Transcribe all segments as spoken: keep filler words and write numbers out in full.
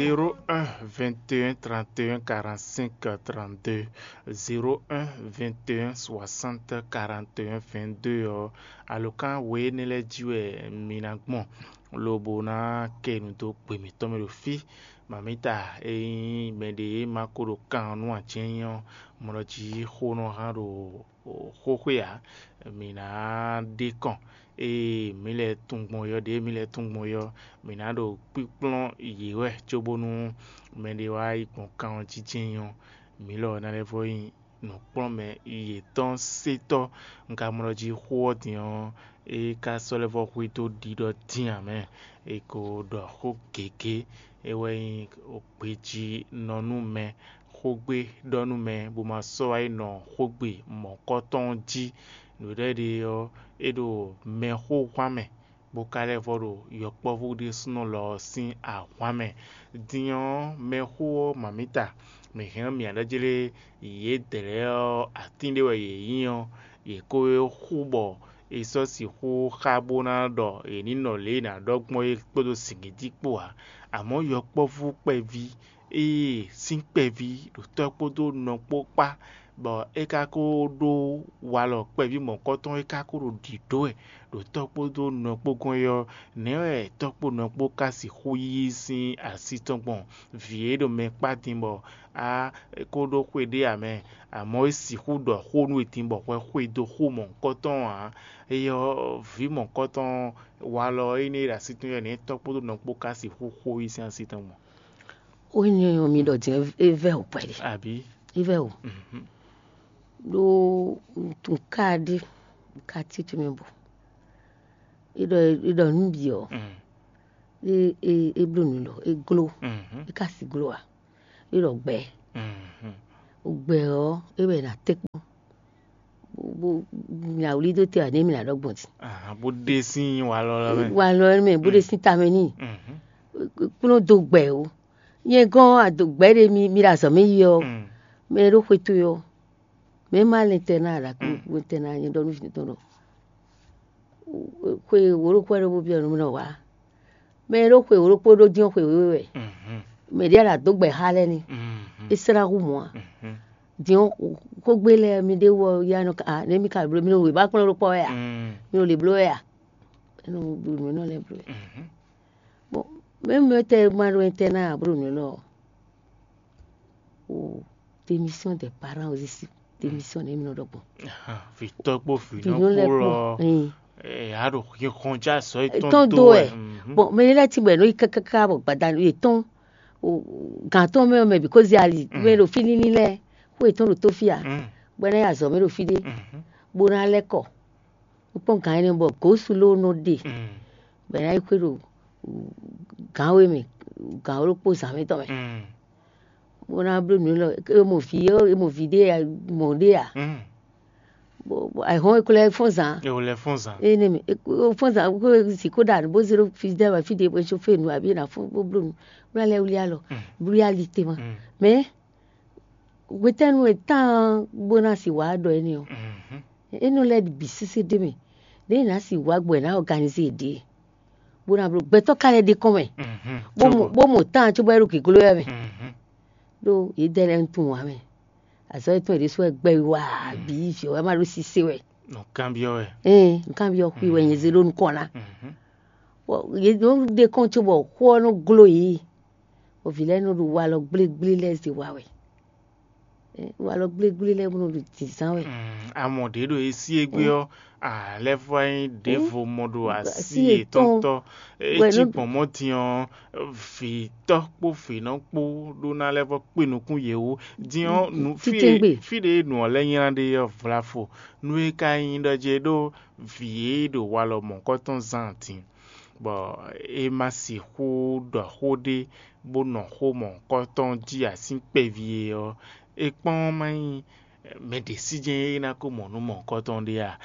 Zéro un vingt et un trente et un quarante-cinq trente-deux, zéro un vingt et un soixante quarante et un vingt-deux ɔ́, alǒkan we énɛ́ lɛ́ɛ jí wɛ mi ná gbɔn, lobo ná kɛ nu dó gbe mǐtɔn mɛ ɖo fí. Mamita, ényí mɛɖé ma ko ɖo kan ɔ́ nú ǎ jɛ́n nyí ɔ́, mɔ ɖɔ jí xó nɔ hán ɖo xóxwe ǎ. Mǐ ná ɖe kɔn ée mǐ lɛ́ tunwun gbɔn ɔ́, ɖěe mǐ lɛ́ tunwun gbɔn ɔ́, mǐ ná ɖo kpíkplɔ́n yě wɛ cóbónú mɛɖé wá yi gbɔn kan ɔ́ jí jɛ́n nyí ɔ́, mǐ lɔ ná lɛ́ vɔ́ nyí nǔkplɔ́nmɛ yětɔn sétɔ́. Un ka mɔ ɖɔ jí xó ɔ́ din ɔ́, é ka sɔ́ lɛ́ vɔ́ hwedó ɖiɖɔ dín ǎ mɛ. È ko ɖɔ xó gěgé, é wɛ nyí gbejí nɔ nú mɛ, xógbé ɖɔ nú mɛ, bó ma sɔ́ wá yi nɔ xógbe mɔ̌kɔtɔn jí. Nǔɖé ɖe ɔ́, é ɖo mɛxóhwan mɛ, bó ka lɛ́ vɔ́ ɖo yɔkpɔ́vú ɖésúnɔ lɔ ɔ́ sín ahwan mɛ. Din ɔ́, mɛxó ɔ́ mamǐta, mǐ hɛn ɔ́ mǐ ná ɖɔ jlé yědɛɛ lɛ́ɛ ɔ́, atín ɖé wɛ yě nyí ɔ́, yě ko e xú bɔ è sɔ́ sixú xá bó ná ɖɔ è ní nɔ lě e è nǎ ɖɔ gbɔn é kpódó zǐngídi kpó ǎ. Amɔ̌ yɔkpɔ́vú kpɛví, ée sín kpɛví ɖo tɔ́ kpódó nɔ kpó kpá, bɔ é ka ko ɖó walɔ kpɛví mɔ̌kɔtɔn, é ka ko ɖo ɖǐɖó wɛ ɖo tɔ́ kpódó nɔ kpó gɔ́n é ɔ́, nɛ̌ wɛ tɔ́ kpó nɔ kpó ka sixú yí sín así tɔn gbɔn? Vǐ e ɖo mɛ kpá din bɔ a ko ɖó xwe ɖé ǎ mɛ, amɔ̌ é sixú ɖɔ xó nú we din bɔ hwɛ xwe dó xó mɔ̌hunkɔtɔn ǎ. Éyɛ́ ɔ́, vǐ mɔ̌hunkɔtɔn walɔ énɛ́ e ɖo así tɔn ɔ́, nɛ̌ tɔ́ kpódó nɔ kpó ka sixú xó yí sín así tɔn gbɔn? Ó nyɔ́ nyɔ́ mi ɖɔ din é vɛ́ wǔ kpɛɖé. Abǐ? É vɛ́ wǔ. Mhm. Ɖó nǔtún ka ɖé ka títí mɛ bɔ é ɖɔ é ɖɔ nǔ bǐ ɔ́, Mm. é é é bló nǔ lɔ, é gló, Mhm. é ka si gló ǎ. É ɖɔ gbɛ. Mhm. Gbɛ ɔ́, é wɛ è nǎ tɛ́ kpɔ́n. Bó bó mi awlí dó te ǎ, nɛ̌ mi ná ɖɔ gbɔn din? Ahan, bó ɖe sín walɔ lɔ mɛ. Walɔ mɛ, bó ɖe sín tamɛ n'i. Mhm. Kplɔ́n dó gbɛ o. Nyɛ gɔ́n ado gbɛ ɖé mi mi ɖo azɔ̌ mɛ yi ɔ́, Mm. mɛ e ɖo xwe towe ɔ́, mɛ e ma lɛn tɛ ná a ɖo akpó Mm. tɛ ná nyɛ ɖɔ nú vǐ tɔn ɖɔ xwe wǒ ɖokpó wɛ ɖó bó byɔ́ nú mì nɔ wá. Mɛ e ɖó xwe wǒ ɖokpó ɖó dín xwe wěwe wɛ. Mhm. Mɛ ɖě a ɖo adǒ gbɛ xá lɛ́ɛ ní. Mhm. É slá hú mɔ̌ a. Mhm. Din xógbé lɛ́ɛ mi ɖé wɔ ya nɔ ka nɛ̌ mi ka bló mi ɖo wěma kplɔ́n ɖokpó wɛ a. Mm. Mi ɖo lě bló wɛ a. É nɔ bló nǔ énɛ́ lɛ́ɛ bló wɛ. Mhm. Bon, même tɛ ma ɖo ɛntɛ ná a bló nǔ élɔ́ ɔ́, o démission des parents aussi, démission nɛ mi nɔ ɖɔ gbɔn. Vitɔ kpó vinɔ kpó lɔ, ɛn, a ɖo xixɔn já sɔ etɔn do wɛ. Bon, mɛ lɛ ti bɔ ɛ nɔ yi kákáká bɔ gbadanu yetɔn gantɔn mɛ mɛ bi kó zi ali mɛ ɖo fí níní lɛ, xó yetɔn ɖo tó fí a, bɔ ɛ ná yi azɔ mɛ ɖo fí ɖé, bó ná lɛ kɔ. Un kpɔ́n gǎn énɛ́ bɔ gǒsu ló nɔ ɖe, bɔ è nǎ yi xwé ɖo gǎn we mɛ, gǎn wǒ ɖokpó zǎn mɛ tɔn mɛ, bó ná bló nǔ élɔ́. E mɔ vǐ ɔ́, e mɔ vǐ ɖé a, mɔ ɖé a? Bɔ ayǐhɔ́n e ko lɛ́ fɔ́n zǎn. E ko lɛ́ fɔ́n zǎn. Énɛ́ mɛ, e ko fɔ́n zǎn, ko si ko ɖa nǔ bó zé ɖó fí dɛ́ wɛ fí ɖé bó é só fé nǔ abǐ è nǎ fɔ́n bó bló nǔ, bó ná lɛ́ wlí alɔ, bló yá ali te ma. Mɛ hwetɛ́nu e tán bó ná si wǎ ɖɔ énɛ́ ɔ́? É nɔ lɛ́ bǐ sésé ɖ'é mɛ, ɖěe è nǎ si wǎ gbɔ è nǎ ɔganizé yě ɖe, bó ná bló gbɛtɔ́ ka lɛ́ ɖe kɔn mɛ, bó mɔ tán cóbɔ é ɖo gěgló wɛ mɛ, ɖó yědɛɛ lɛ́ɛ tunwun ǎ mɛ. Azɔ̌ yětɔn yě ɖésú wɛ gbɛ wá bǐ vǐ wɛ má ɖó sisé wɛ. Nǔkanbyɔ́ wɛ. Ɛn nǔkanbyɔ́ xwi wɛ nyɛ zé ɖó nukɔn ná. Yě nɔ ɖe kɔn cóbɔ xó ɔ́ nɔ gló yě, bɔ vǐ lɛ́ɛ nɔ ɖo walɔ gblégblé lɛ́ɛ zé wa wɛ. Walɔ gblégblé lɛ́ɛ bó nɔ ɖo dǐnzán wɛ. Amɔ ɖě ɖo e sí égbé ɔ́, a lɛ́ vɔ nyí ɖěvo mɔ ɖo así yětɔn tɔ́. É cí gbɔn mɔ̌ din ɔ́, vǐtɔ́ kpó vǐnɔ kpó ɖó ná lɛ́ vɔ kpé nukún yě wú. Din ɔ́, fí ɖě nǔ ɔ́ lɛ́ nylá ɖe ɔ́ vlafo. Nú é ka nyí ɖɔ jɛ ɖó vǐ e ɖo walɔ mɔ̌kɔtɔn zán din, bɔ é ma sixú ɖɔ xó ɖé bó nɔ xó mɔ̌kɔtɔn jí asín kpɛví é ɔ́, é kpɔ́n má nyí mɛ ɖě sí jɛ́n é ná ko mɔ nǔ mɔ̌kɔtɔn ɖé a?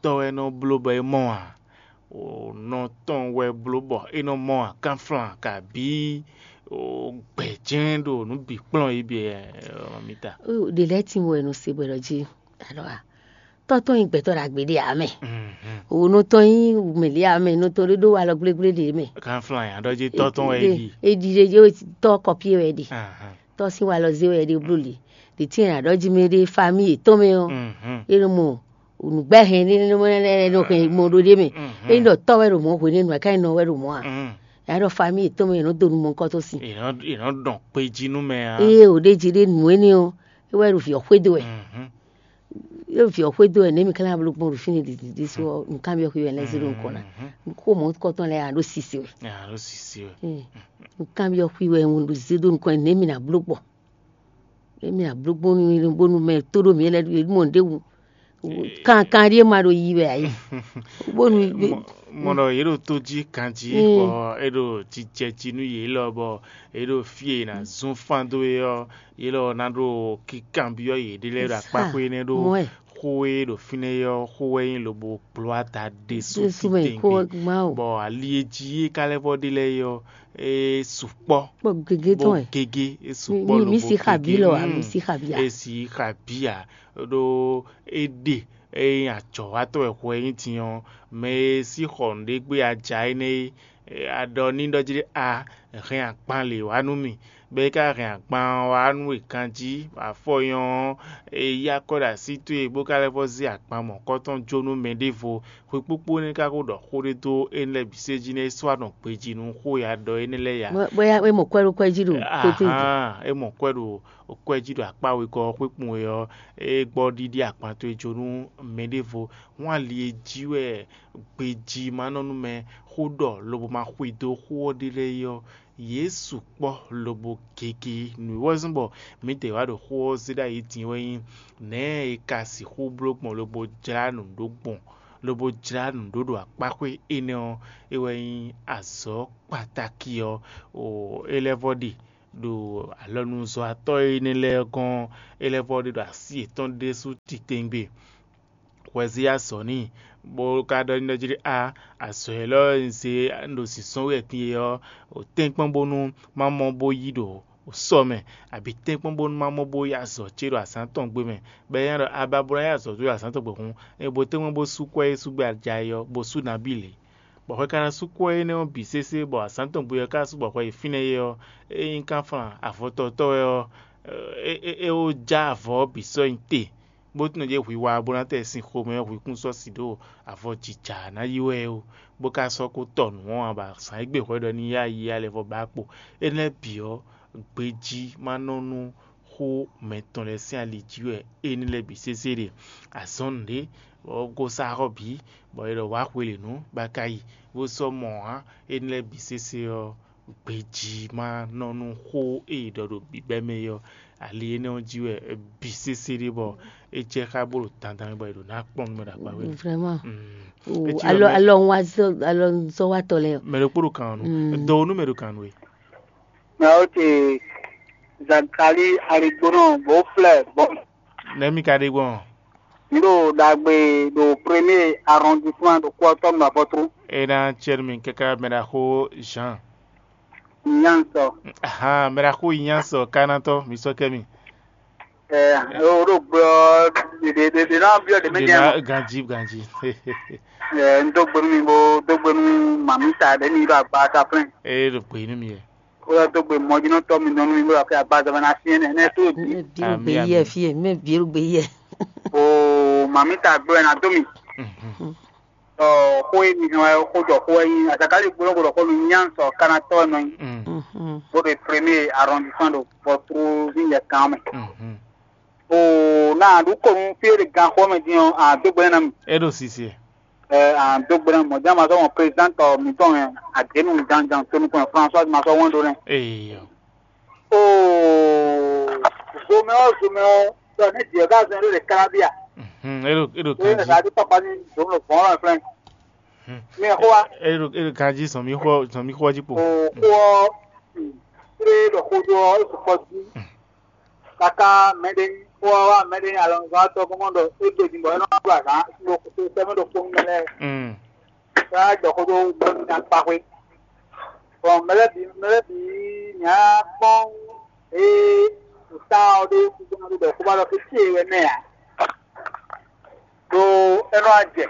Tɔ́ wɛ nɔ bló bɔ é mɔ a? Nɔ tɔn wɛ bló bɔ é nɔ mɔ a? Kanflan kabǐ gbɛ̌ jɛ́n ɖo nǔ bǐ kplɔ́n é bǐ wɛ mita. Ɖě lɛ́ɛ tín wɛ nɔ se bɔ è nɔ jí alɔ a? Tɔ́ tɔn nyí gbɛtɔ́ ɖagbe ɖé ǎ mɛ. Wǔnú tɔn nyí mɛ̌ ɖé ǎ mɛ, nú tɔn ɖé ɖó alɔ gblégblé ɖě mɛ. Kanflan yǎ ɖɔ jí tɔ́ tɔn wɛ é ɖi. É ɖi ɖé jí tɔ́ kɔpí wɛ é ɖi. Tɔ́ sín walɔ zé wɛ é ɖe bló lě. Ɖě tɛ́ntin è nǎ ɖɔ jí mɛ ɖé famíyi yětɔn mɛ ɔ́, é nɔ mɔ nǔgbɛ́hɛn ɖé nɔ hɛn mɔ ɖó ɖé mɛ. É nyí ɖɔ tɔ́ wɛ ɖo mɔ̌ hwenɛ́nu ǎ, ká nyí nɔ wɛ ɖo mɔ̌ ǎ. È nǎ ɖɔ famíyi yětɔn mɛ è nɔ dó nú mɔ̌hunkɔtɔn sín. È nɔ è nɔ dɔn kpe jí nú mɛ ǎ. Ée ò ɖ'é jí ɖé nǔ énɛ́ ɔ́, é wɛ ɖo vǐ ɔ́ xwedó wɛ. Mhm. É vǐ ɔ́ xwedó wɛ nɛ̌ mi ka ná bló gbɔn ɖo fínɛ́ ɖiɖi ɖésú ɔ́, nǔkanbyɔ́ xwi wɛ lɛ́ zé ɖo nukɔn ná. Mhm. Xó mɔ̌hunkɔtɔn lɛ́ɛ ǎ ɖo sise wɛ. Nya ló sisi wɛ. Ee, nǔkanbyɔ́ xwi wɛ un ɖo zé ɖó nukɔn nɛ̌ mi ná bló gbɔn. Nɛ̌ mi ná bló gbɔn nú bónú mɛ tó ɖó mǐ lɛ́ɛ ɖo mɔ ɖěbǔ. Kankan ɖíe ma ɖo yi wɛ ǎ é. Bónú Mɔ ɖɔ yě ɖo tó jí ganjí, bɔ é ɖo jijɛ jí nú yě lɔ, bɔ yě ɖo fí e è nǎ zún fán dó é ɔ́, yě lɔ ná ɖo kíkanbyɔ́ yěɖée lɛ́ɛ ɖo akpáxwé énɛ́ ɖó xó e ɖo fínɛ́ é ɔ́, xó wɛ nyí lobo gbló ada ɖésú titewungbe. Bɔ ali e jí é ka lɛ́ vɔ ɖe lɛ́ɛ é ɔ́, é sukpɔ́. Kpɔ gěgé tɔn wɛ. Gégé é sukpɔ́. Mi si xabí lɔ a, mi si xabí a? É si xabí a? Ɖó é ɖe ényí ajɔ̌watɔ́ wɛ hwɛ nyí din ɔ́, mɛ e sí xɔ nǔɖé gbé aja énɛ́ é, a ɖɔ n'i ɖɔ jí ɖé a hɛn agban lě wá nú mì, bɔ é ka hɛn agban ɔ́ wá nú we ganjí, afɔ nyɔ ɔ́, è yí akɔ ɖo así towe bó ka lɛ́ vɔ zé agban mɔ̌kɔtɔn jó nú mɛ ɖěvo. Hwekpókpó énɛ́ ka ko ɖɔ xó ɖé dó énɛ́ lɛ́ɛ bǐ sé jí nɛ́ é sɔ́ wá nɔ gbejí nú xó e a ɖɔ énɛ́ lɛ́ɛ ya. Bóyá é mɔ kwɛ́ ɖó kwɛ́ jí ɖo kótó jí. Ahán, é mɔ kwɛ́ ɖo kwɛ́ jí ɖo akpá wegɔ́ ɔ́ xwékpun e ɔ́, é gbɔ ɖíɖí agban towe jó nú mɛ ɖěvo. Hɔn ali e jí wɛ gbejí ma nɔ nú mɛ xó ɖɔ lobo ma xwedó xó ɔ́ ɖe lɛ́ɛ é ɔ́, yě sukpɔ́ lobo gege. Nǔ e wɛ zɔ́n bɔ mǐdɛɛ wá ɖo xó ɔ́ zé ɖ'ayǐ din wɛ nyí nɛ̌ è ka sixú bló gbɔn lobo jlá nǔ ɖó gbɔn, lobo jlá nǔ ɖó ɖo akpáxwé énɛ́ ɔ́, é wɛ nyí azɔ̌ kpatáki ɔ́. O é lɛ́ vɔ ɖe ɖo alɔnuzɔ́watɔ́ énɛ́ lɛ́ɛ gɔ́n, é lɛ́ vɔ ɖe ɖo así yětɔn ɖésú titewungbe. Hwɛ zé azɔ̌ n'i, bó ka ɖɔ n'i ɖɔ jí ɖé a, azɔ̌ élɔ́ e un zé un ɖo zǐnzɔ́n wɛ din é ɔ́, tɛ́nkpɔ́n bónú má mɔ bó yí ɖo sɔ mɛ, abǐ tɛ́nkpɔ́n bónú má mɔ bó yí azɔ̌ ce ɖo azǎn tɔn gbe mɛ, bɔ é nya ɖɔ a ba bó ná yí azɔ̌ towe ɖo azǎn tɔn gbe hǔn, é bo tɛ́nkpɔ́n bó sú kwɛ́ e sú gbé a ja é ɔ́, bó sú nabí lě. Bɔ hwɛ ka ná sú kwɛ́ énɛ́ ɔ́ bǐ sésé, bɔ azǎn tɔn gbe ɔ́ ka sú bɔ hwɛ yi fínɛ́ é ɔ́, é nyí kánflán avɔtɔtɔ́ wɛ ɔ́, é é é ó já avɔ ɔ́ bǐ sɔ́ nyi te, bó tunwun ɖě hwi wa bó ná tɛ sin xomɛ ɔ́, hwi kún sɔ́ si ɖó avɔ jija ná yi wɛ ó, bó ka sɔ́ kó tɔ nǔ ɔ́ ǎ, bɔ azǎn e gbe hwɛ ɖɔ ní yá yi alɛ vɔ ba kpo. Énɛ́ bǐ ɔ́, gbejí ma nɔ nú xó mɛtɔn lɛ́ɛ sín ali jí wɛ énɛ́ lɛ́ɛ bǐ sésé ɖe. Azɔn nǔɖé, bɔ gosá xɔ bǐ, bɔ è ɖɔ wǎ xwelěnu bá ka yi, bó sɔ́ mɔ ǎ. Énɛ́ lɛ́ɛ bǐ sésé ɔ́, gbejí ma nɔ nú xó e è ɖɔ ɖo bǐbɛ́ mɛ é ɔ́, ali énɛ́ ɔ́ jí wɛ bǐ sésé ɖe bɔ é jɛ xá bó ɖo dandan mɛ bɔ è ɖǒ ná kpɔ́n nú mɛ ɖo akpa wɛ. Vraiment. Mm. O Etí ɔ́ alɔ mɛ- alɔ ń wá zɔ alɔ ń zɔ wá tɔ lɛ. Mɛ ɖokpó ɖo kan ɔ́ nu. Mm. Dɔwonu mɛ ɖo kan nu e. Mɛ o te Zakali Arigbonɔ bó flɛ bɔn. Nɛmi ka ɖe gbɔn. N ɖo ɖagbe ɖo premier arrondissement ɖo kɔtɔnu afɔtru. E na tiɛ mi kaka mɛ ɖaxó Jean. Nyansɔ. Ahan, mɛ ɖaxó Nyansɔ kanatɔ mi sɔ kɛ mi. Ɛ o ɖo gbɔ ɖe ɖe ɖe na biɔ ɖe mɛ Ɖe nyɛ na mɔ. Ganji ganji. Ɛ n do gbenu mi bo do gbenu mamita ɖe mi ɖo agba ta flɛn. E ɖo gbe nu mi yɛ. Ko yɔ dó gbe mɔjínɔtɔ́ mi nɔ nú mi bó ɖɔ fɛ agbaza mɛ ná syɛ́n nɛnɛ tó bǐ. Mɛ bǐ ɖo gbe yɛ fí e, mɛ bǐ ɖo gbe yɛ. Oo, mami ta gbé wɛ ná dó mi. Ɔ, xó e mi hɛn wɛ xó jɔ xó wɛ nyí azakali gbólóhùn ɖɔ xó mi nyá sɔ kana tɔ́ wɛ nɔ nyí. Bó ɖe premier arrondissement ɖo Bɔtruvi yɛ kan mɛ. Oo, na ɖu ko nu fí e ɖe gan xó mɛ din ɔ́, a dó gbe ná mi. E ɖo sisi. Ɛ, a dó gbe ná mi. Mɔ̌ jɛ́n ma sɔ́ mɔ président tɔ mǐtɔn wɛ, Adénu Janjan to nukɔn François ma sɔ́ wɛn ɖó nɛ. Eyo. Oo, zomɛ ɔ́, zomɛ ɔ́, ɖɔ ne Dieu ka zɔn ɖo le kalabia. Mhm, eɖo eɖo Oye kanji. Sa di papa ni zomɛ vɔn la flɛ. Hmm. Mi xɔ wa. Eɖo eɖo kanji sɔn mi xɔ sɔn mi xɔ ji po. Oo, xɔ ɔ, mm, tre ɖɔ xo ɖo ɔ, e sukpɔ di. Kaka mɛɖe xɔ wa mɛɖe alɔnuzɔn atɔ kɔmɔ ɖɔ e do di bɔ e nɔ ɖo azan ɖo sɛmɛ ɖo kpɔn mɛ lɛ. Hmm. Sa jɔ xo ɖo bɔ mi na kpa xwe. Bɔn mɛ lɛ bi mɛ lɛ bi nya kpɔn ee ta ɔ ɖe kúkú na ɖo ɖɔ kó ba ɖɔ fí fí e wɛ mɛ a. É nɔ wá jɛ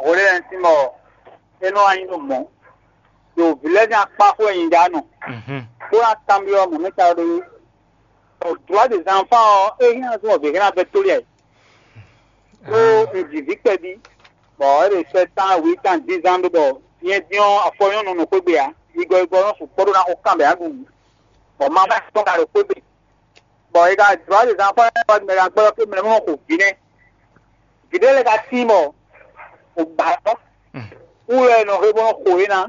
hwelɛ́ntin bɔ é nɔ wá nyí ɖo mɔ̌ ɖo vǐ lɛ́ɛ sín akpá xó e nyi ɖa nɔ, bó ná kanbyɔ́ mɔ̌ mɛ ta ɖó ɔ. Droit des enfants ɔ́, é hɛn azɔn ɔ́ vǐ hɛn abɛ tóli ayǐ. Ɖó un ji vǐ kpɛví, bɔ é ɖo sɛ́ tán wǐ tán dízán ɖó bɔ nyɛ dín ɔ́ afɔ nyɔ́nu nɔ xwé gbe ǎ. Igɔ igɔ nɔ sukpɔ́ ɖó ná xo kan bɛ ǎ ɖu. Bɔ mamá tɔn ka ɖo xwé gbe. Bɔ è ka jlɔ́ ɖě zán fɔ́n ɔ́ mɛ ɖo agbɔ́ ɔ́ ké mɛ mɔ xo vǐ nɛ́. Vǐ ɖé lɛ́ɛ ka tín bɔ wǔ ba ɔ́, wú wɛ è nɔ he bó nɔ xo yě ná.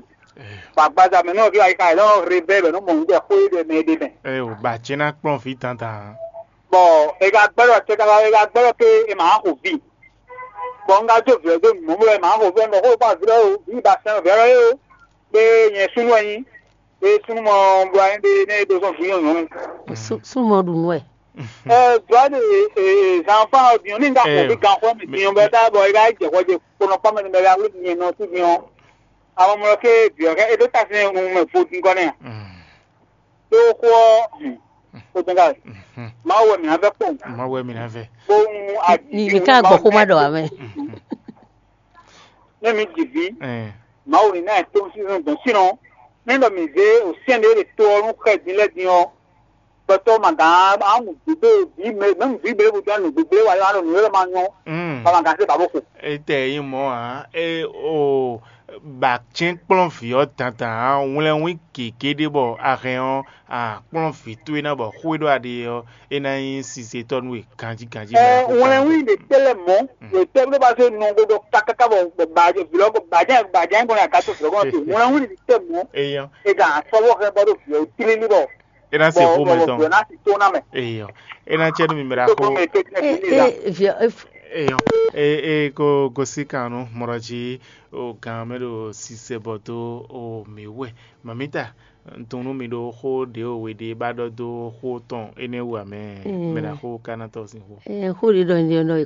Bɔ agbaza mɛ nɔ ví ayi ka è nɔ he bɛ́ bɔ è nɔ mɔ nǔ jɛ xó yé ɖɛ mɛ ɖé mɛ. Ɛ o ba ce ná kplɔ́n vǐ dandan. Bɔ è ka gbɛ́ ɖɔ tɛ káká è ka gbɛ́ ɖɔ ké è ma xo vǐ. Bɔ un ka jó vǐ ɔ́ dó nǔ mɔ̌ bɔ è ma xo vǐ ɔ́ nɔ xó kpá vǐ ɔ́ o, vǐ ba sɛn vǐ ɔ́ é o. Kpé nyɛ súnnu wɛ nyí. Ée súnnu mɔ bɔ anyí ɖe nɛ́ é dó zɔn vǐ nyɔ̌nu. Súnnu mɔ ɖu nú wɛ. Ɛ dɔ̌ ɖe zanfan ɔ́ din ní ŋka xɔ mì ganxɔ mì din bɔ tá bɔ é ka jɛ xɔ jɛ kponɔ kpɔ́ mɛ ní bɛ wlí nyɛ nɔ sú din ɔ́. Amɔ mlɔ ké vǐ ɔ́ é ɖó tasínɛ nu mɛ vo din kɔ nɛ. Tó xó ɔ́ kó tɛn ká wɛ. Mawu wɛ mǐ ná vɛ kpɔn. Mawu wɛ mǐ ná vɛ. Bó ń Ni ká gbɔ xó má ɖɔ ame. Ne mi ji vǐ, Mawu ní ná ɛ tó sísɔn dɔn sínɔ. Nɛ́ ɖɔ mǐ zé òsyɛ́n ɖé ɖe to ɔ́ nú xɛ din lɛ́ɛ din ɔ́, gbɛtɔ́ ma gǎn á mú gbígbé vǐ mɛ mɛ̌ mú vǐ běbú dɔn nǔ gbígbé wa yɔ alɔ nǔ e ma nyɔ́, bɔ ma gǎn zé ba bó xo. Etɛ nyí mɔ̌ ǎ, é o ba cɛ́n kplɔ́n vǐ ɔ́ dandan ǎ, wlɛ́nwín gěgé ɖé bɔ a hɛn ɔ́, a kplɔ́n vǐ towe ná bɔ xó e ɖɔ a ɖe ɔ́, é ná nyí sizetɔ́ nú we ganjí ganjí. Ɛ wlɛnwín ɖe tɛ́ lɛ́ mɔ̌, ɖo tɛ́ bó ba zé nɔ bó ɖɔ kákáká bɔ bɔ bàjẹ́ vǐlɔ bɔ bàjẹ́ bàjẹ́ gbɔn aga tó vǐlɔ gbɔn tó wlɛnwín ɖe tɛ́ mɔ̌. Eyɔn. E gan asɔbɔ xɛ bɔ ɖo vǐlɔ tlílí bɔ. E ná se xó mɛ tɔn. Vǐlɔ ná si tó ná mɛ. Eyɔn. E ná cɛ nú mi mɛ ɖa xó. Eyɔn. E e e ko gosi kan nú mɔɖɔ jí o gan mɛ ɖo sisɛ bɔ dó o mi wɛ. Mamita, un tunwun nú mi ɖó xó ɖě o we ɖe ba ɖɔ dó xó tɔn énɛ́ wú amɛ. Mɛ ɖa xó ka ná tɔ́ sín xó. Xó ɖě ɖɔ nyɛ ɖɔ